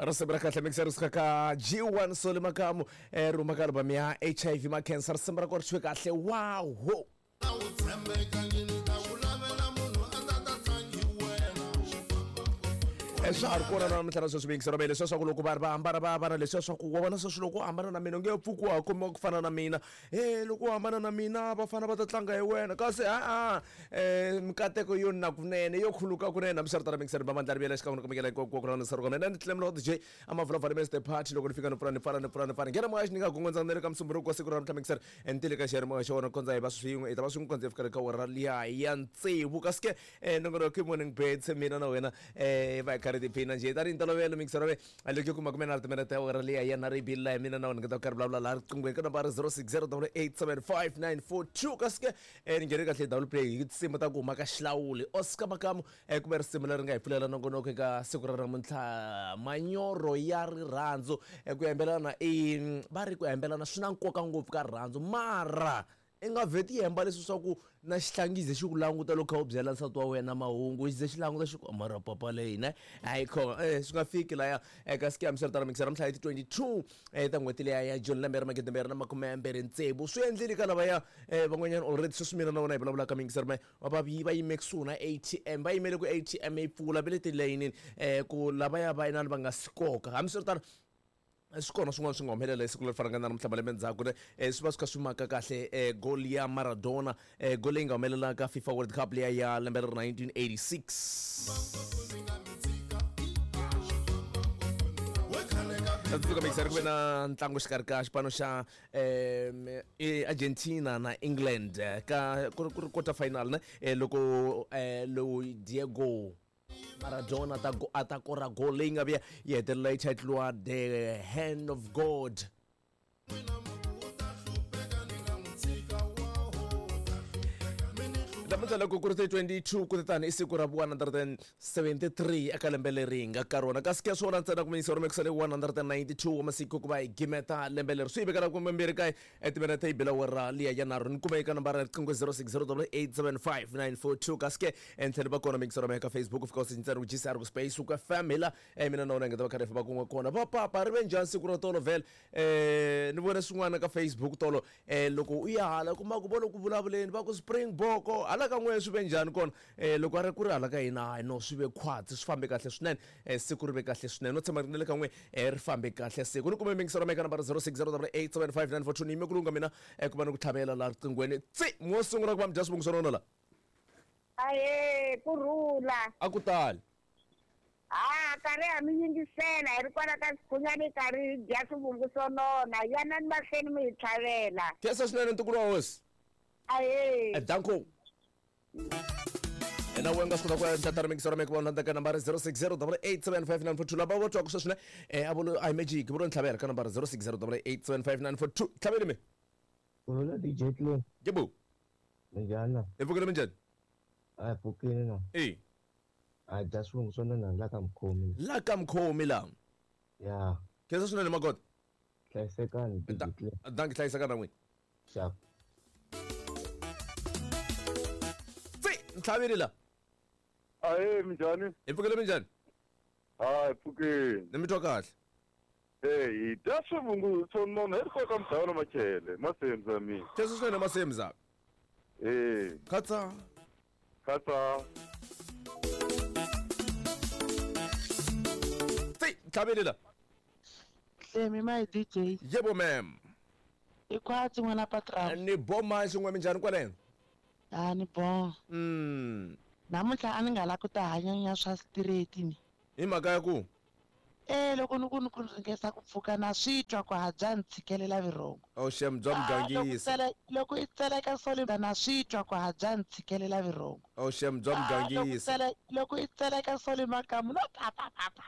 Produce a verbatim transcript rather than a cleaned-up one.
Risimu ra kahle mixer ri suka ka G one Soli Makamu eh ri huma ka album ya H I V ma cancer. Risimu ra kona ri thyiwe kahle wow. Swa ha ri kona na namuntlha na sweswi mixer ra leswiya swa ku loko va ri va hambana va hambana leswiya swa ku wa vona sweswi loko u hambana na mina u nge pfuki wa ha khomiwa ku fana na mina, e loko u hambana na mina vafana va ta tlanga hi wena kasi a-a um mikateko yo na kunene yo khuluka kunene. Hambiswiritano mixer va mandla ri vuyela xikan'we na ku mikela hinkwako na nsari mina ni Clem D J a mavulavula Mister Party loko ni fika ni pfula ni pfala ni pfula ni pfala nghena moya xi ni nga gongondza na le ka musumbunuko wa siku ra namuntlha mixer ni tile ka xiyanimoya xa wona kondza hi va swin'we hi ta va swin'we kondza hi fika le ka wona liya ya tsevu kasi ke nongonoko i Morning Beds mina na wena um va hi karhi tiphina njhe tanihi ntolovelo mixer ve loko yi kuma kume na timinete ya wena liya ya na ri bile mina na wena nga ta karhi vulavula laha riqinghweni ka nambara zero six zero double eight seven five nine four two kasi ke ni nghene kahle double play hi tinsimu ta ku huma ka xilawuli Oscar Makamu kumbe risimu leri nga hi pfulela nongonoko eka siku ra namuntlha manyoro ya rirhandzu ku hembelana i va ri ku hembelana swi na nkoka ngopfu ka rirhandzu mara i nga vheti hemba leswi swa ku na xihlangize xi ku languta loko kha u byela nsati wa wena mahungu xi ze xi languta xi ku mara papa leyi ne hayi khona eh swi nga fiki laya eka siku ya hambiswiritano mixer namuntlha hi ti twenty-two eh ta n'hweti liya ya June lembe ra magidi mbirhi na makume mbirhi tsevu swi endlile ka lavaya eh van'wanyana already sweswi mina na wena hi vulavulaka mixer me va va va yime kusuhi na A T M va yimele ku A T M yi pfula va le tilayinini eh ku lavaya va inani va nga si koka hambiswiritano swi kona swin'wana swi nga humelela hi siku leri fanaka na namuntlha malembe ndzhaku ne swi va swi kha swi maka kahle goal ya Maradona goal leyi nga humelela ka FIFA World Cup liya ya lembe ra nineteen eighty-six. Tsundzuka mixer ku ve na ntlangu xikarhi ka xipano xa um Argentina na England ka ku ri quarter final ne loko lowu Diego Maradona ta a ta kora goal leyi nga vuya yi hetelela yi titliwa the hand of God. Namuntlha loko ku ri ti twenty-two ku tani i siku ra vu one hundred seventy-three eka lembe leri hi nga ka rona kasi ke swona ntsena ku miyisa rhumekisa le one hundred ninety-two wa masiku ku va hi gimeta lembe leri swi yi vekela kumbe mbirhi kaye etiminete yi bela wera liya ya nharhu ni kuma eka nambara ya riqingho zero six zero double eight seven five nine four two kasi ke entlhelo va kona mixer eka Facebook u fika u ntsena ku G C R ku space ku F M hi la mina na wena hi nga ta va karhi hi famba kun'we kona va papa ri ve njhani siku ra tolo vhele um ni vone swin'wana ka Facebook tolo um loko u ya hala kuma ku vo loko vulavuleni va ku Springbok hala ka n'we swi ve njhani kona um loko a ri ku ri hala ka hina hayi no swi ve khwatsi swi fambe kahle swinene um siku ri ve kahle swinene no tshemba ri na le ka n'we ri fambe kahle siku ni kume mixer eka nambara zero six zero double eight seven five nine four two ni yime ku lunga mina ku va ni ku tlhavela laha riqinghweni tsi mo sungula ku va mi dya swivungu swa rona la ahe kurhula a ku tali a karhi ha mi yingisela hi ri kwala ka Sikhunyani karhi hi dya swivungu swo nona yanani mahlweni mi hi tlhavela khensa swinene ntukulu wa hosi ahe danko na wena nga swi kota ku endla tano mixer ra ku vona ka nambara zero six zero double eight seven five nine four two lava vo twaka sweswi ne eh a volo a magic vo ntlhavela ka nambara zero six zero double eight seven five nine four two tlhaveli mi Hola D J Clem yebo minjhani hi pfukile minjhani a hi pfukile na e a dya swivungu swo nona la ka mukhomi la ka mukhomi la ya khensa swinene makota hlayisekani D J Clem danki hlayisekani na n'wina xap ntlhaveli la ahe minjhani hi pfukile minjhani hayi pfukile ni mi twa kahle e hi dya swivungu swo nona hi ri koka mudhawu na machele masemza mina khensa swinene masemza e khatsa khatsa tsi ntlhaveli la Hlemi my D J yebo ma'am i khwatsi n'wana patron ni boma xin'we minjhani kwaleno a ni bon mm namuntlha a ni nga la ku ta hanyanya swa straight ni hi mhaka ya ku e loko ni ku ni ku ringesa ku pfuka na swi twa ku ha bya ni tshikelela vurhongo oh shem bya mugangisa loko i tseleka soli na swi twa ku ha bya ni tshikelela vurhongo oh shem bya mugangisa loko i tseleka soli makamu no pa pa pa pa